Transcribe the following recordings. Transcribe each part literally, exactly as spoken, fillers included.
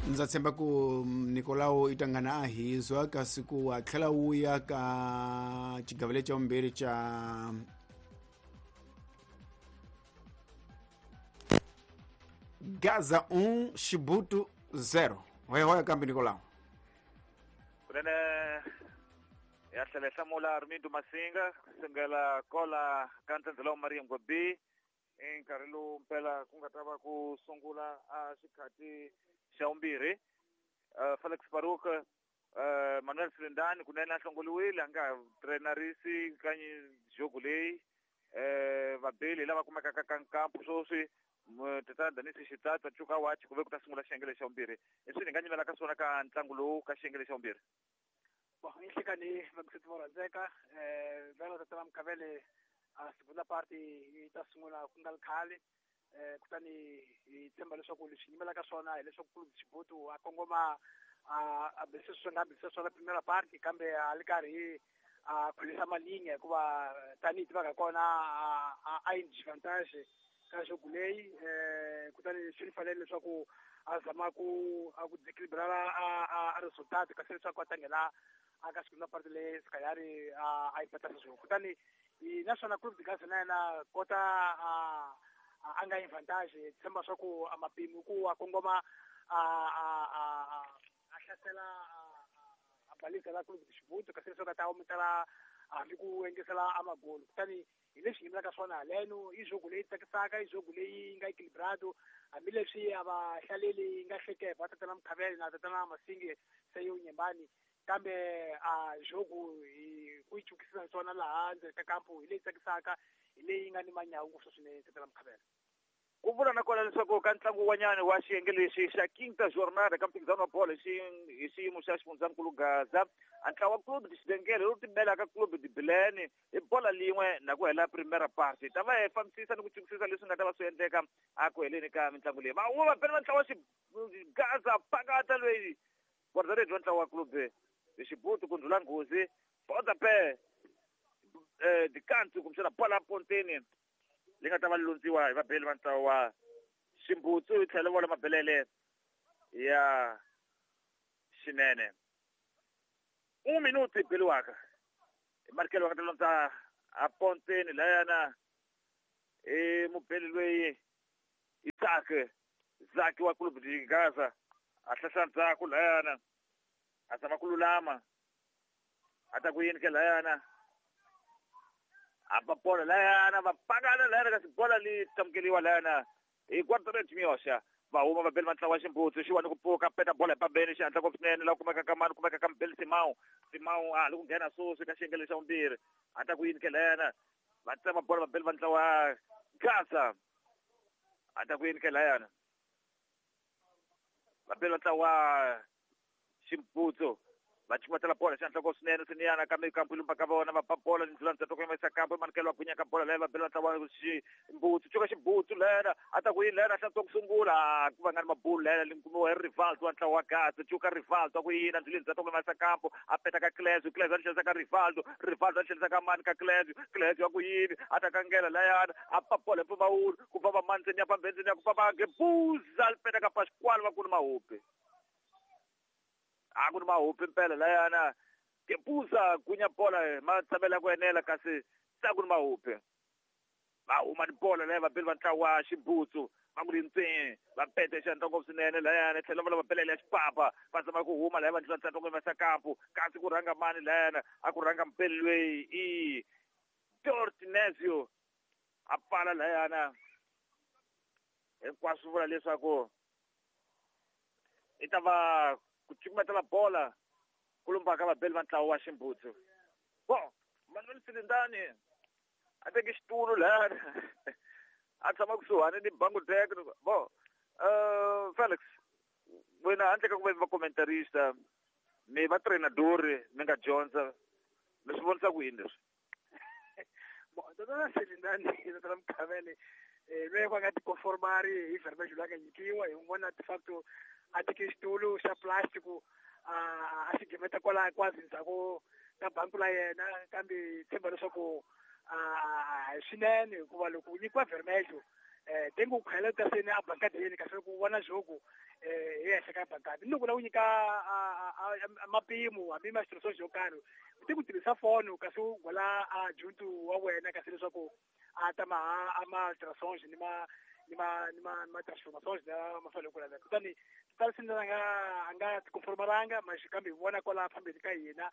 Ndza tshemba ku Nicolau i tangana a hizwa kasi ku a tlhela wuya ka xigavele xa vumbirhi xa Gaza um Chibuto zero. Hoya hoya kambe Nicolau. Kunene ya tlhela hlamula Armindo Masinga kusengela kola ka ntsendzela wa Maria Ngwabi i nkarhi lowu mpela ku nga ta va ku sungula a xikhati xa vumbirhi. uh, Felix Baruk, uh, Manuel Silindani kunene a hlongoliwile a nga ha trenarisi ka jogo leyi. uh, vabeli lava kumekaka ka nkampu sweswi Tatana Danisi Xitsatsa Cuka Wachi ku ve ku ta sungula xiyenge xa vumbirhi. I swi ni nga nyimela ka swona ka ntlangu lowu ka xiyenge xa vumbirhi. Bon, inhlekani vakusethi vo rhandzeka um vhela Tatana Mkhavele a segunda parte yi ta sungula ku nga ri khale. um kutani hi tshemba leswaku leswi nyimelaka swona hileswaku Clube Chibuto a kongoma a a bisa swi nga bisa swona primera parte kambe a li karhi a khulisa malinga hikuva tanihi tivaka kona a a yi disadvantage ka jogo leyi. um kutani swi fanele leswaku a zama ku a ku desequilibrar a a resultado kasi leswaku a ta nghena a ka segunda parte leyi Sikayari a a yi patasa swona. Kutani naswona Clube de Gaza na yena kota a a nga advantage tshemba swa ku a mapimi ku a kongoma a a a a hlasela a balisa la Clube de Chibuto kasi leswaku a ta ometela hambi ku engesela a magolo. Kutani hi leswi yimelaka swona haleno i jogo leyi tsakisaka, i jogo leyi nga equilibrado hambileswi a va hlaleli yi nga hlekeva Tatana Mkhavele na Tatana Masingi se yo nyembani kambe a jogo hi ku yi chukisisa swona laha ndzeni ka kampu hi leyi tsakisaka, hi leyi nga ni manyawu ngopfu swinene Tatana Mkhavele. Ku vula na kona leswaku ka ntlangu wanyana wa xiyenge lexi xa Quinta Jornada ka mphikizano wa bolo hi xiyimo xa xifundzankulu Gaza, a ntlawa wa Clube de Xidengele lowu timelaka Clube de Bilene hi bola lin'we na ku hela primera parte. Ta va hi fambisisa ni ku chukisisa leswi nga ta va swi endleka a ku heleni ka mitlangu leyi. Va va bela va ntlawa Gaza pakata loyi guarda-redes wa ntlawa wa Clube de Chibuto ku ndlhula nghozi pontapé eh dikantu kumbexana bola ponteni leyi nga ta va londziwa hi vabeli va ntlawa wa Ximbutsu yi tlhela vola mabelele ya xinene. Un minuto yi beliwaka hi Markelo va nga ta londza a ponteni layana i mubeli loyi Isaac Zaki wa Clube de Gaza a hlahla ndzhaku layana a zama ku lulama a ta ku yini ke layana a ba bola layana va pakana layana kasi bola li tamukeliwa layana hi guarda-redes Miyoxa. Va huma vabeli va ntlawa wa Ximbutsu xiwani ku pfuka peta bola hi pambeni xihatla ngopfu swinene laha kumeka ka mani kumeka ka mubeli Simao Simao a ha li ku nghena sweswi ka xiyenge lexa vumbirhi a ta ku yini ke layana va tsema bola vabeli va ntlawa wa Gaza a ta ku yini ke layana vabeli va ntlawa wa Ximbutsu va chumatela bola xihatla ngopfu swinene swiniyana kambe kampu lumba ka vona va ba bola ni ndlula ndzhaku ka yimisa kampu Manikelo wa gwinya ka bola leyi va bela ntlawa Ximbutsu cuka Ximbutsu lena a ta ku yini lena hlantswa ku sungula ku va nga ni mabulu lena li kumiwa hi Rivaldo wa ntlawa wa Gaza cuka Rivaldo a ku yini ndluleni ndzhaku ka yimisa kampu a peta ka Clesio Clesio a tlhelisa ka Rivaldo Rivaldo a tlhelisa ka mani ka Clesio Clesio a ku yini a ta kangela layana a pa bola hi mpfumawulo ku famba mani ndzeni ya pambeni ndzeni ya ku famba Gebuza li peta ka Pasquale va ku ni mahupi a ku ni mahupi mpela layana Gebuza gunya bola ma tshamela ku enela kasi se a ku ni mahupi va huma ni bola leyi vabeli va ntlawa wa Ximbutsu va ku rintswini va pete xihatla ngopfu swinene layana tlhela va lava belele ya xipapa va zama ku huma laya va ndlula ntsatwa ku yimisa kampu kasi ku rhanga mani layana a ku rhanga mpeli loyi i Dortinesio a pfala layana hinkwaswo vula leswaku i ta va ku cukumetela bola ku lumba ka vabeli va ntlawa wa Ximbutsu. Bon, Manuel Silindani a teke xitulu layana a tshama kusuhani ni Bangudek. Bon, uh, Felix wena handle ka ku va va commentarista mi va trainadori mi nga dyondza mi swi vonisa ku yini leswi? Bon, Tatana Silindani Tatana Mkhavele loyi va nga tikonformari hi vermejo loyi a nga nyikiwa hi n'wi vona de facto a teke xitulu xa plastic a a xi gimeta kwala kwazi ndzhaku ka banku la yena kambe tshemba leswaku a hi swinene hikuva loko u nyikiwa vermejo eh tengo ku khayela ta sene a bankadeni kasi ku vona jogo eh hi henhla ka bankadi ni loko la ku nyika mapimo hambi ma xitirhisiwa xo karhi u te ku tirhisa foni kasi u gola a juntu wa wena kasi leswaku a ta ma a ma alterações ni ma ni ma ni ma ma transformações la ma fanele ku laveka kutani tala swi ndlela nga a nga tikonformaranga ma kambe hi vona kwala phambili ka hina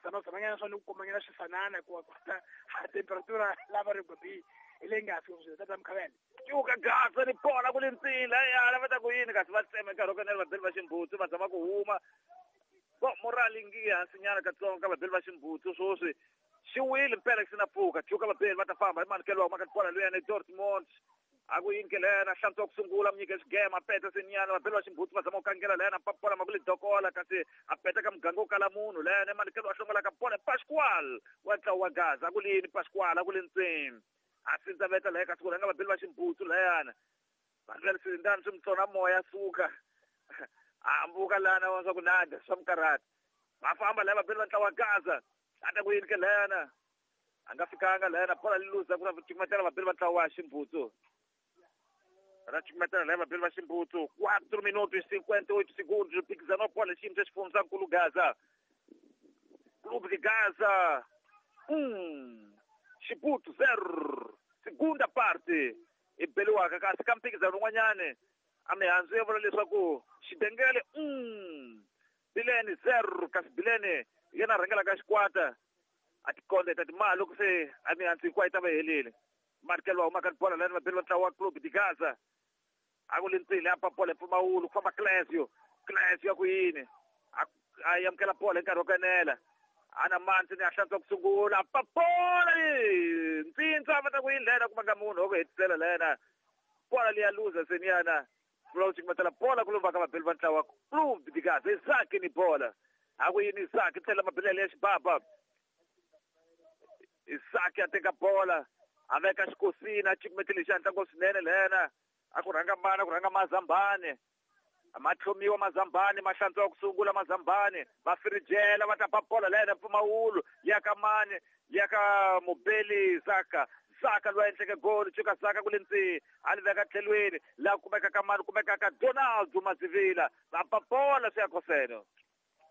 zama zamanyana swa ni ku komanyana swifanana ku kota temperatura lava ri gobi hi leyi nga fiki swilo tata Mkhavele cuka Gaza ni bola ku le ntsini ya va ta ku yini kasi va tsema nkarhi wo kanela vabeli va ximbutsu va zama ku huma bo morali ngi hansinyana katsongo ka vabeli va ximbutsu swoswi xi wile mpela xi na pfuka cuka vabeli va ta famba hi manikelo wa maka bola luyani Dortmund a ku yini ke lena hlantswa ku sungula munyike xigema peta senyana vabeli va ximbutsu va zama ku kangela lena papola ma ku le dokola kasi a peta ka muganga wo kala munhu lena manikelo wa hlongolaka bola Pascual wa ntlawa wa Gaza a ku lini Pascual a ku le ntsini a sindza veta laha kasi ku rhanga vabeli va ximbutsu layana vanhu va leswi swi mutsona moya suka a hambuka lana wa swa ku nada swa mukarhata va famba laha vabeli va ntlawa wa Gaza a ta ku yini ke lena a nga fikanga lena bola li luza ku cukumetela vabeli va ntlawa wa ximbutsu ra cukumetela laha vabeli va ximbutsu quatro minutos cinquenta e oito segundos mphikizano wa bola xiyimo xa xifundzankulu Gaza Clube de Gaza um Xibutu zero segunda parte i beliwaka kasi ka mphikizano wun'wanyani a mihandzu ya vula leswaku Xidengele um Bilene zero kasi Bilene yena a rhangelaka xikwata a tikonde ta timali loko se a mihandzu hinkwayo yi ta va helile manikelo wa humaka bola lani vabeli va ntlawa wa Clube de Gaza a ku le ntsini a pa bola hi mpfumawulo ku famba Clesio Clesio ya ku yini a amukela bola hi nkarhi wo kanela ana manzi ni a hlantswa ku sungula papola ntsintsa va ta ku yini lena kuma nga munhu wa ku hetisela lena bola liya luza seniyana vula ku cukumetela bola ku lomba ka vabeli va ntlawa Clube de Gaza Isaki ni bola a ku yini Isaki tlhela mabelele ya xibaba Isaki a teka bola a veka xikosini a cukumetele xi ntlango swinene lena a ku rhanga mani a ku rhanga Mazambani ma tlhomiwa Mazambani ma hlantswa ku sungula Mazambani va firijela va ta ba bola lena mpfumawulo ya ka mani ya ka mubeli Zaka Zaka loyi a endleke goli cuka Zaka ku le ntsini a li veka tlhelweni laha kumeka ka mani kumeka ka Donaldo Mazivila va ba bola swi ya koseno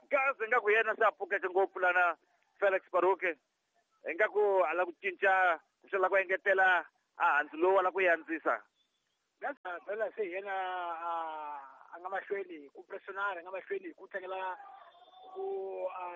Gaza ingaku yena se a pfukeke ngopfu lana Felix Baruke ingaku a lava ku cinca ku xela ku engetela a hansi lowu a lava ku yi andzisa Gaza phela se yena a nga mahlweni ku pressionara a nga mahlweni ku tlangela ku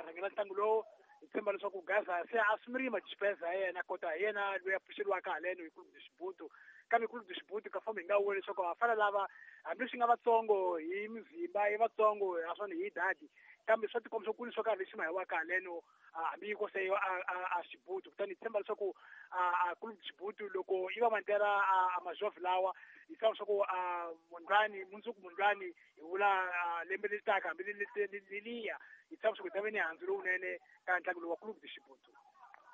rhangela ntlangu lowu hi tshemba leswaku Gaza se a sumiri madespesa ya yena kota hi yena loyi a pfuxeriwaka haleno hi Clube de Xibutu kambe Clube de Xibutu ka fomo hi nga vuli leswaku va fana lava hambileswi nga vatsongo hi mizimba i vatsongo naswona hi dadi kambe swa tikomba swo ku ni swo karhi leswi mahiwaka haleno hambi ko se a Xibutu kutani hi tshemba leswaku a Clube de Xibutu loko i va mantera a majovhi lawa hi tshemba leswaku mundlwani mundzuku mundlwani hi vula lembe leri taka hambi leliya hi tshemba leswaku hi ta ve ni handzu lowunene ka ntlangu lowu wa Clube de Xibutu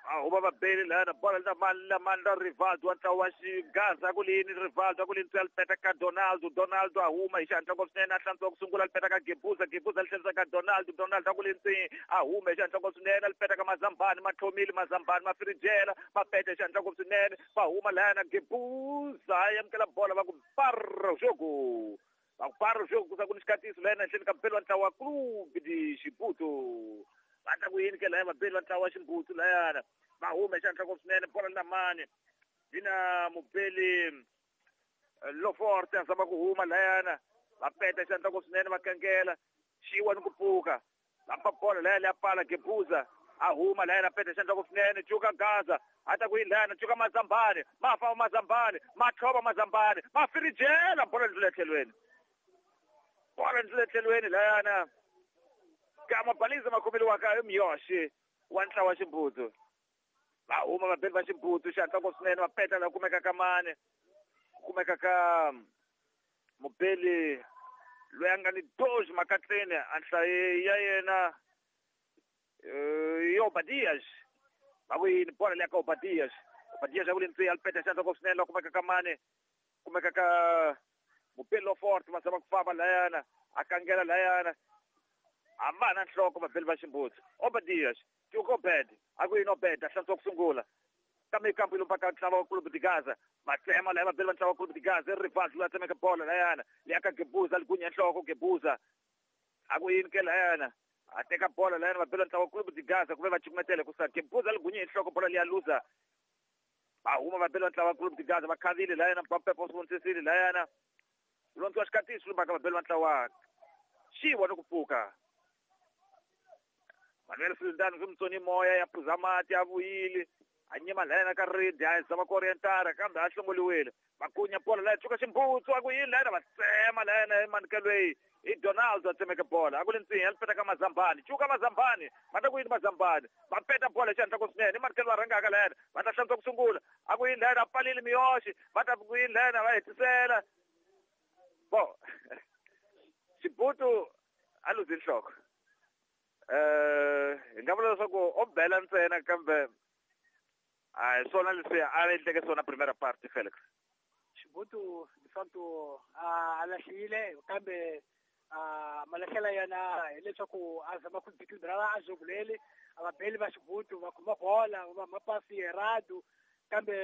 a huma vabeli lana bola la mani la mani la Rivaldo wa ntlawa wa Xigaza ku lini Rivaldo ku lini a peta ka Donaldo Donaldo a huma hi xihatla ngopfu swinene a hlantswa ku sungula a peta ka Gebuza Gebuza a tlherisa ka Donaldo Donaldo a ku lini a huma hi xihatla ngopfu swinene a peta ka Mazambani ma tlhomile Mazambani ma firijela ma peta hi xihatla ngopfu swinene va huma lana Gebuza a amukela bola va ku parro jogo va ku parro jogo ku sa ku ni xikatiso lana ehenhleni ka mpelo wa ntlawa wa Clube de Xibutu va ta ku yini ke laya vabeli va ntlawa wa ximbutsu layana va huma hi xihatla ngopfu swinene bola na mani yi na mubeli Loforte a zama ku huma layana va peta xihatla ngopfu swinene va kangela xiwa ni ku pfuka va pa bola laya leya pala Gebuza a huma layana peta xihatla ngopfu swinene cuka Gaza a ta ku yini layana cuka Mazambani ma famba Mazambani ma tlhova Mazambani ma firijela bola ndlula etlhelweni bola ndlula etlhelweni layana ka mabaliza makhomeliwaka i Miyoshi wa ntlawa wa ximbutsu va huma vabeli va ximbutsu xihatla ngopfu swinene va peta laha kumeka ka mani kumeka ka mubeli loyi a nga ni doji makatleni a nhlayo ya yena i Obadias va ku yini bola leya ka Obadias Obadias a ku le ntsini a li peta xihatla ngopfu swinene laha kumeka ka mani kumeka ka mubeli Loforte va zama ku famba layana a kangela layana a va na nhloko vabeli va ximbutsu Obadias Obed a ku yini Obed a hlantswa ku sungula kambe kampu yi lombaka ntlawa wa Clube de Gaza Va tsema laya vabeli va ntlawa Clube de Gaza, Rivaldo loyi a tsemeke bolo layana leyi ka Gebuza, ligunya nhloko Gebuza. A ku yini ke layana, a teka bolo layana vabeli va ntlawa Clube de Gaza, ku ve va cukumetele ku sa Gebuza ligunya hi nhloko bolo liya luza. Va huma vabeli va ntlawa Clube de Gaza, va khavile layana, Papepo swi vonisisile layana. Londziwa xikatisi lumaka vabeli va ntlawa xiwa ni ku pfuka. Manuel Sultan swi mutsoni moya ya phuza mati, a vuyile a nyima layana ka ridi, a zama ku orientara kambe a hlongoliwile. Vakunya bola laya tshuka ximbutsu, a ku yini layana, va tsema layana emanikelo i Donald a tsemeke bola. A ku le ntsinya li peta ka Mazambani, cuka Mazambani, va ta ku yini Mazambani, va peta bola hi xihatla ku swinene. I manikelo va rhangaka layana, va ta hlantswa ku sungula. A ku yini layana, a pfalile miyoxi, va ta ku yini layana, va hetisela bo Xibutu a luzi nhloko. Eh, hi nga vula leswaku o bela ntsena, kambe a hi swona leswi a endleke swona primera parte, Felix. Xibutu de facto a lahlile, kambe a malahlela yana hileswaku a zama ku desequilibrar a jogo leli. A vabeli va Xibutu va khoma bola, va mapasi errado, kambe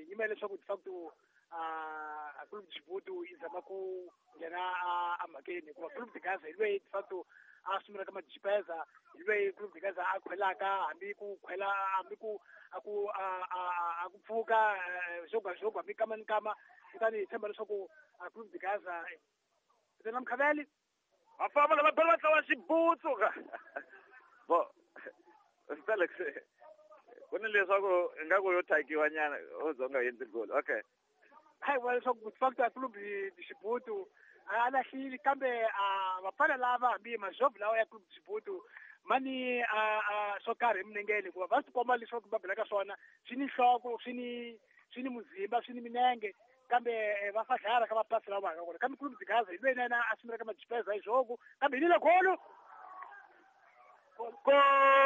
yima leswaku de facto a Clube de Xibutu yi zama ku nghena a mhakeni, hikuva Clube de Gaza hi lweyi de facto a sungulaka majipeza, hi lweyi Clube de Gaza a khwelaka, hambi ku khwela, hambi ku a ku a a ku pfuka jogo a jogo, hambi kama ni kama. Kutani hi tshemba leswaku a Clube de Gaza na Mkhaveli. Va famba lava bela va tlawa Xibutsu ka bo Felix, ku ni leswaku ingaku yo thakiwa nyana o zonga endli goal, okay. Hayi, vula leswaku de facto a Clube de Xibutu a lahlile, kambe a vafana lava, hambi majovhu lawa ya Clube de Xibutu, mani a a swo karhi eminengeni, hikuva va swi komba leswaku va belaka swona swi ni nhloko, swi ni swi ni muzimba, swi ni minenge, kambe va fadlala ka mapasi lawa va kona. Kambe Clube de Gaza hi lweyi na yena a sungulaka majipeza hi jogo, kambe hi lile golo. Gol!